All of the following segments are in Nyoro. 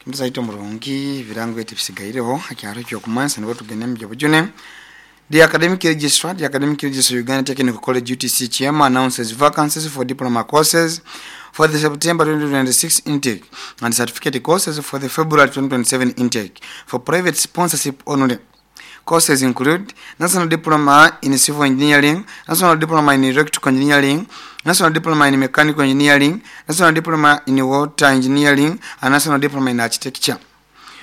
Muzaito murungi, ebirango eti bisigaireho hakyaro ekyokumansa nibwo tugende mubyobujune. The academic registrar, the academic registrar Uganda Technical College UTC Kyema announces vacancies for diploma courses for the September 2026 intake and certificate courses for the February 2027 intake for private sponsorship only. Courses include National Diploma in Civil Engineering, National Diploma in Electrical Engineering, National Diploma in Mechanical Engineering, National Diploma in Water Engineering, and National Diploma in Architecture.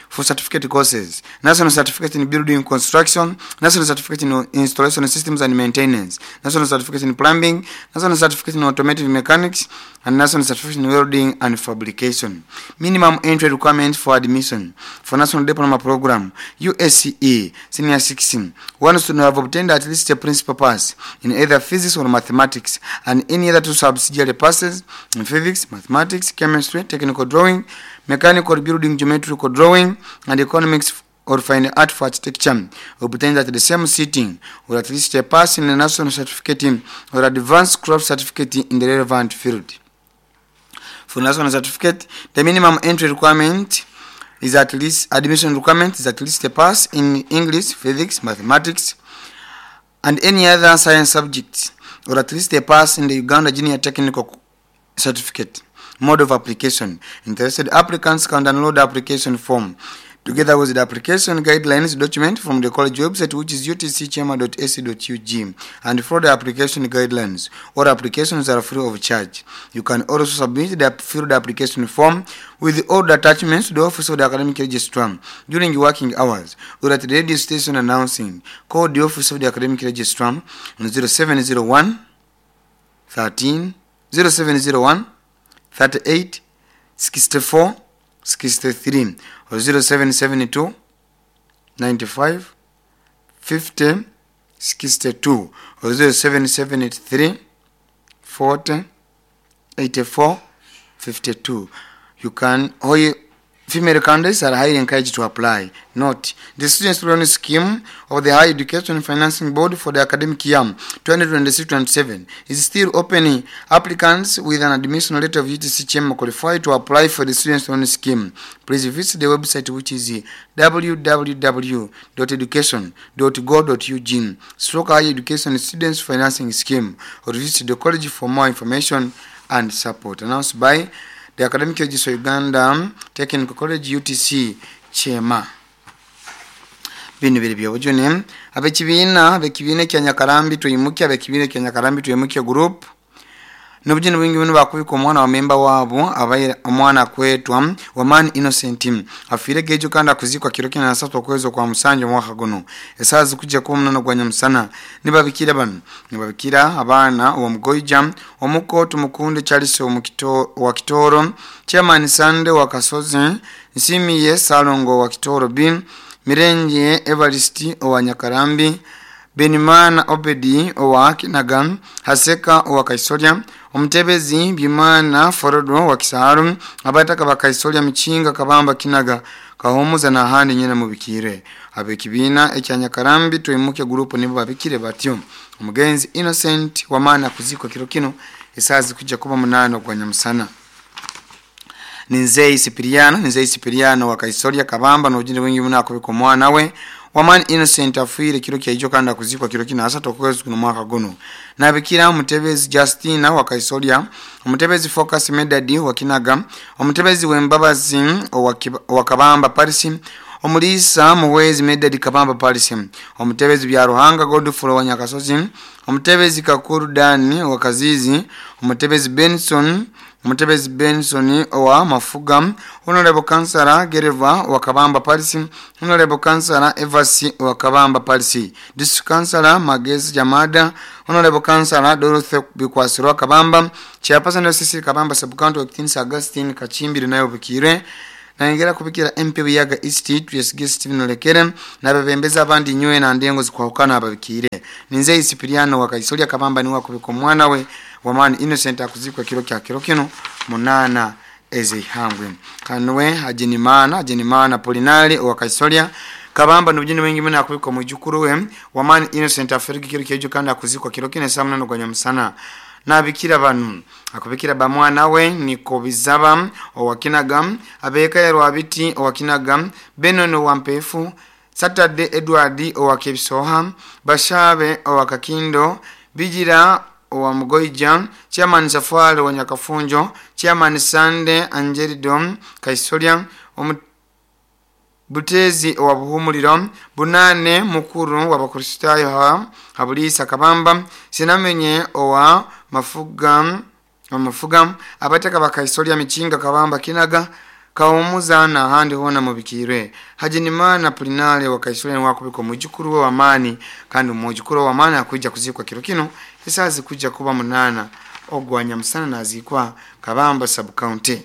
For certificate courses, National Certificate in Building Construction, National Certificate in Installation Systems and Maintenance, National Certificate in Plumbing, National Certificate in Automotive Mechanics, and National Certificate in Welding and Fabrication. Minimum entry requirements for admission for National Diploma Program, USCE, Senior 16. One student have obtained at least a principal pass in either physics or mathematics and any other two subsidiary passes in physics, mathematics, chemistry, technical drawing, mechanical building, geometrical drawing, and economics or fine art for architecture, obtained at the same sitting, or at least a pass in a national certificate or advanced craft certificate in the relevant field. For national certificate, the minimum entry requirement is at least admission requirement is at least a pass in English, physics, mathematics, and any other science subject, or at least a pass in the Uganda Junior Technical Certificate. Mode of application. Interested applicants can download the application form together with the application guidelines document from the college website, which is utckyema.ac.ug, and follow the application guidelines. All applications are free of charge. You can also submit the filled application form with all the attachments to the office of the academic registrar during working hours or at the radio station announcing. Call the office of the academic registrar on 0701 13 0701 38 64 63 or 0772 95 50 62 or 0773 40 84 52. You can, or you, female candidates are highly encouraged to apply. Note, the students loan scheme of the Higher Education Financing Board for the academic year 2026-27 is still open. Applicants with an admission letter of UTC Kyema qualify to apply for the students loan scheme. Please visit the website, which is www.education.go.ug stroke higher education students financing scheme, or visit the college for more information and support. Announced by the Academic Registrar Uganda Technical College UTC Kyema. Bino biri byobujune. Abekibiina kya Nyakarambi Twimuke, abekibiina kya Nyakarambi Twimuke group nobujune bwingi buno bakubika omwana wa memba waabo abaire omwana akwetwa Wamani Innocent afiire gejo kandi akuzikwa kiro kina na satu okwezi okwa musanju omwaka guno esaaha zikujja kuba omunana gwa nyamusana. Nibabikira bano nibabikira abaana omugoija omuko Tumukunde Charles wa Kitoro, Chairman Sande wa Kasozi, Nsimiye Salongo wa Kitoro B, Mirenje Evarist owa Nyakarambi, Benimana Obedi owa Kinaga, Haseka owa Kaisolya, Omutebezi Bimana Forodo wa Kisaaru, abataka ba Kaisolya Michinga Kabamba Kinaga Kahumuza na handi nyina mubikire. Abekibiina ekya Nyakarambi Twimuke group nibo babikire batyo. Omugenzi Innocent Wamana kuzikwa kiro kino esaaha zikujja kuba 8 gwa nyamusana. Ninzei Sipiriano, Ninzei Sipiriano wa Kaisolya Kabamba n'obujune bwingi muno akubika omwana we Wamani Innocent afiire kiro kyaijo kandi akuzikwa kiro kino asatu okwezi kuno mwaka guno. Nabikira Omutebezi Justina wa Kaisolya, Omutebezi Focus Medadi wa Kinaga, Omutebezi Wembabazi wa Kabamba Paris, Omulisa Muwezi Medadi Kabamba Paris, Omutebezi Byaruhanga Godfrey wa Nyakasozi, Omutebezi Kakuru Dani wa Kazizi, Omutebezi Benson, Omutebezi Benson owa Mafuga, Honorable Councillor Gereva wa Kabamba Paris, Honorable Councillor Evasi wa Kabamba Paris, District Councillor Magezi Jamada, Honorable Councillor Dorothy Bikwasirwa Kabamba, Chairperson wa CC Kabamba Sub-County wa Kitins Augustine Kachimbiri nayo bukire. Nayongera kubikira MP Buyaga East Twesige Steven Olekere n'abebembezi abandi nywe na ndengo zikwahukana ababikire. Ninzei Sipiriano wa Kaisolya Kabamba niwe akubika omwana we Wamani Innocent akuzikwa kiro kya kiro kino 8 ezihangwe. Kanwe Hajenimana Polinari wa Kaisolya Kabamba n'obujune bwingi muno akubika omwijukuru we Wamani Innocent aferiki kiro kyejo kandi akuzikwa kiro kino saa 8 gwa nyamusana. Nabikira banu akubikira bamwana we Niko Bizaba owa Kinaga, abeka ya Rwabiti owa Kinaga, Benon owa Mpefu, Saturday Edward owa Kebisoha, Bashabe owa Kakindo, Bijira owa Mugoija, Chairman Safari wa Nyakafunjo, Chairman Sande Angelido Kaisolya, Butezi owa Buhumuliro, Bunane mukuru w'Abakristaayo Habulisa Kabamba, Sinamenye owa Mafuga, Mafuga, abataka bakaisolya Michinga Kabamba Kinaga, Kawumuza n'ahandi hoona mubikirwe. Hajinimana Pulinale wa Kaisolya niwe akubika omwijukuru we w'amaani, kandi omwijukuru we w'amaani akwija kuziikwa kiro kino esaaha zikwijja kuba 8 ogwa nyamusana naziikwa Kabamba sub county.